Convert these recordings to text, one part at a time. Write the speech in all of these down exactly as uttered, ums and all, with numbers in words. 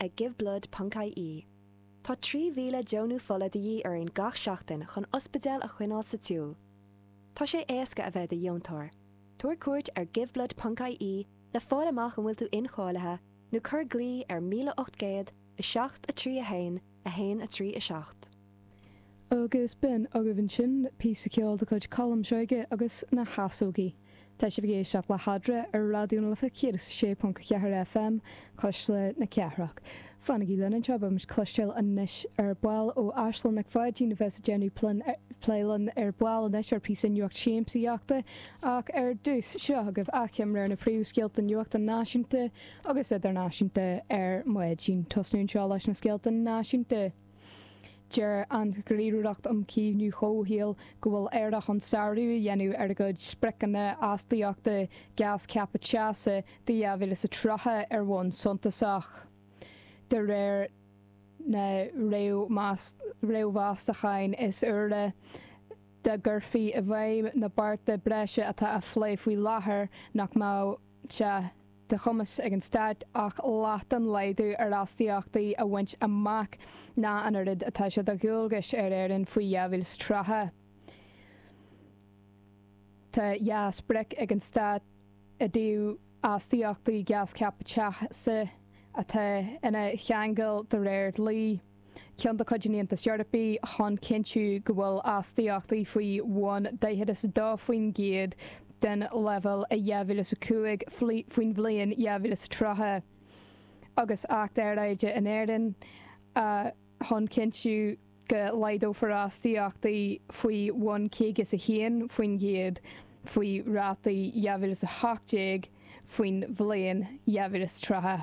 ag giveblood ponc ie. Tá trí mhíle deonú fola de dhíth orainn gach seachtain chun ospidéil a choinneáil sa tsiúl. Tá sé éasca a bheith i do dheontóir. Tabhair cuairt ar giveblood ponc ie le fáil amach an bhfuil tú incháilithe nó cuir glao ar míle ocht gcéad, a seacht, a trí a haon, a haon a trí a seacht. Agus b'in agaibh ansin píosa ceoil de chuid Colm Seoige agus na hEasógaí. Tá sibh ag éisteacht le hEadra ar Raidió na Life céad is a sé ponc a ceathair FM, Cuisle na Cathrach. Fanaigí linn anseo, beidh muid ag cloisteáil anois ar ball ó Aisling Nic Pháidín a bheas ag déanamh plé linn ar ball anois ar phíosa nuacht siamsaíochta ach ar dtús, seo agaibh achoimre ar na príomhscéalta nuachta náisiúnta agus idirnáisiúnta ar maidin. Tosnú anseo leis na scéalta náisiúnta. Deir an Ghníomhaireacht um Chaomhnú Comhshaoil go bhfuil Éire chun sárú a dhéanamh ar a gcuid spriocanna astaíochta gás ceaptha teasa do dhá mhíle is a tríocha ar bhonn suntasach. De réir na réamh-mheastachán is úire, dá gcuirfí i bhfeidhm na bearta breise atá á phlé faoi láthair, nach mbeadh sé de chumas ag an Stát ach leath den laghdú ar astaíochtaí a bhaint amach ná an oiread atá sé de dhualgas ar Éirinn faoi dhá mhíle is tríocha. Tá dhá sprioc ag an Stát i dtaobh astaíochtaí gás ceaptha teasa atá ina cheangal de réir dlí. ceann de chuid an Aontais Eorpaigh chun cinntiú go bhfuil astaíochtaí faoi bhun daichead is a dó faoin gcéad den leibhéal i dhá mhíle is a cúig faoin bhliain dhá mhíle is tríocha, agus Acht Aeráide in Éirinn chun cinntiú go laghdófar astaíochtaí faoi bhun caoga is a haon faoin gcéad faoi rátaí dhá mhíle is a hocht déag faoin bhliain dhá mhíle is tríocha.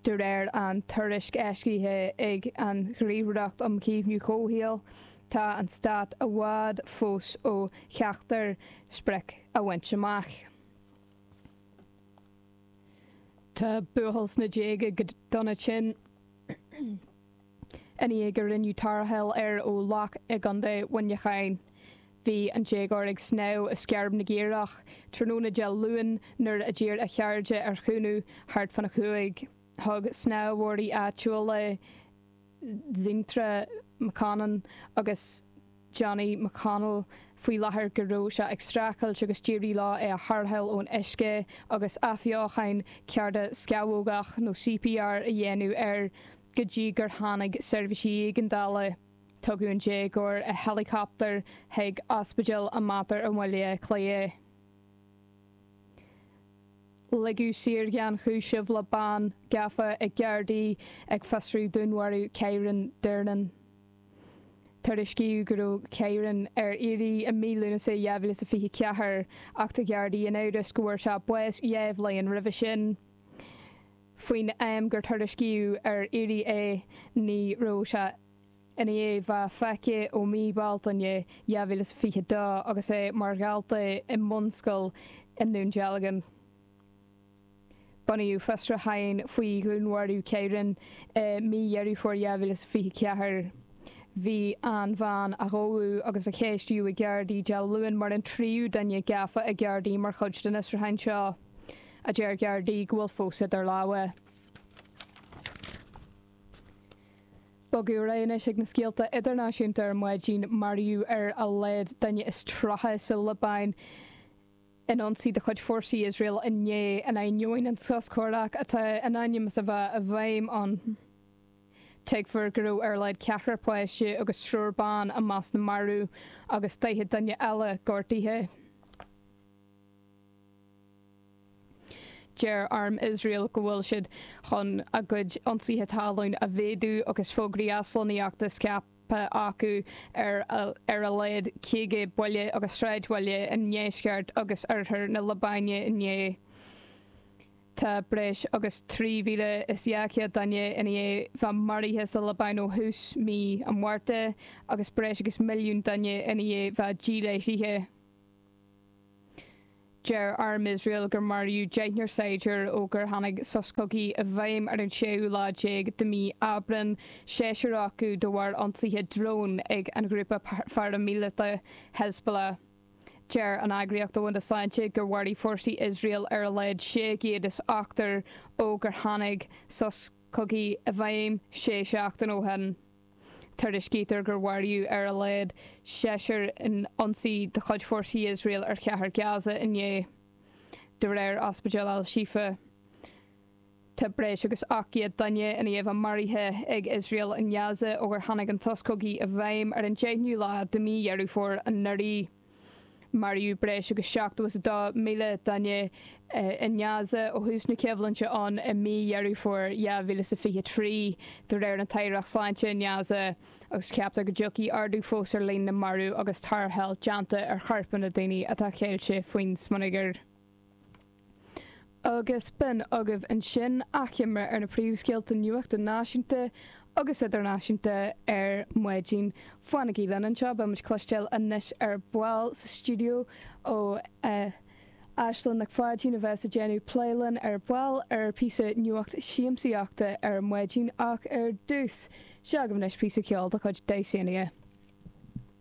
De réir an tuairisc eisithe ag an Ghníomhaireacht um Chaomhnú Comhshaoil, tá an Stát i bhfad fós ó cheachtar sprioc a bhaint amach. Tá buachaill sna déaga go dona tinn i ndiaidh gur rinneadh tarrtháil air ó loch i gContae Mhuineacháin. Bhí an déagóir ag snámh i Sceirb na gCaorach tráthnóna Dé Luain nuair a d'iarr a chairde ar chúnamh thart fána cúig. Thug snámhóirí áitiúla Dzintra McConnon agus Johnny McConnell faoi láthair go raibh sé ag streachailt agus d'éirigh leo é a tharrtháil ón uisce agus athbheochan cardascamhógach nó C P R a dhéanamh air go dtí gur tháinig seirbhísí éigeandála. Tugadh an déagóir i héileacaptar chuig Ospidéal an Mater i mBaile Átha Cliath. Ligeadh saor gan chúiseamh le bean gafa ag Gardaí ag fiosrú dúnmharú Kyran Durnin. Tuairiscíodh go raibh Kyran ar iarraidh i mí Lúnasa dhá mhíle is a fiche ceathair ach tá Gardaí in amhras go bhfuair sé bás dhá bhliain roimhe sin. Faoin am gur tuairiscíodh ar iarraidh é ní raibh sé i ndiaidh bheith feicthe ó mí Bealtaine dhá mhíle is fiche dó agus é mar dhalta i mbunscoil i nDún Dealgan. Bunaíodh fiosrúcháin faoi dhúnmharú Kyran i mí Dheireadh Fómhair dhá mhíle is fiche ceathair. Bhí an bhean a gabhadh agus a ceistíodh ag Gardaí Dé Luain mar an tríú duine gafa ag Gardaí mar chuid den fhiosrúchán seo, a deir Gardaí go bhfuil fós idir lámha. Bogadh ar aghaidh anois ag na scéalta idirnáisiúnta ar maidin. Maraíodh ar a laghad duine is tríocha sa Liobáin in ionsaí de chuid fórsaí Iosrael inné, in ainneoin an sos comhraic atá in ainm is a bheith i bhfeidhm ann. Tuigtear go raibh ar a laghad ceathrar páiste agus triúr ban i measc na marbh agus daichead duine eile gortaithe. Deir Arm Iosrael go bhfuil siad chun a gcuid ionsaithe talún a mhéadú agus fógraí aslonnaíochta scaipthe acu ar ar a laghad caoga baile agus sráidbhaile i ndeisceart agus oirthear na Liobáine inné. Tá breis agus trí mhíle is dhá chéad duine i ndiaidh bheith maraithe sa Liobáin ó thús mí an Mhárta agus breis agus milliún duine i ndiaidh bheith díláithrithe. Deir Arm Iosrael gur maraíodh deichniúr saighdiúir ó gur tháinig sos cogaidh i bhfeidhm ar an séú lá déag de mhí Aibreán, seisear acu de bharr ionsaithe drón ag an ghrúpa pharaimíleata Hezbollah. Deir an Eagraíocht Domhanda Sláinte gur mharaigh fórsaí Iosrael ar a laghad sé chéad is ochtar ó gur tháinig sos cogaidh i bhfeidhm sé seachtain ó shin. Tuairiscítear gur maraíodh ar a laghad seisear in ionsaí de chuid fórsaí Iosrael ar chathair Gaza inné, de réir Ospidéal Al-Shifa. Tá breis agus ocht gcéad duine i ndiaidh a bheith maraithe ag Iosrael i nGaza ó gur tháinig an sos cogaidh i bhfeidhm ar an deichiú lá de mhí Dheireadh Fómhair anuraidh. Maraíodh breis agus seachtó is a dó míle duine i nGaza ó thús na coimhlinte ann i mí Dheireadh Fómhair dhá mhíle is a fiche trí, de réir an tAireacht Sláinte i nGaza, agus ceaptar go dtiocfaidh ardú fós ar líon na marbh agus tarrtháil déanta ar choirpeanna daoine atá ceilte faoin smionagar. Agus b'in agaibh ansin achoimre ar na príomhscéalta nuachta náisiúnta agus idirnáisiúnta ar maidin. Fanaigí linn anseo, beidh muid cloisteáil anois ar ball sa stiúideo ó Aisling Nic Pháidín a bheas ag déanamh plé linn ar ball ar píosa nuacht siamsaíochta ar maidin ach ar dtús, seo agaibh anois píosa ceoil de chuid Dysania.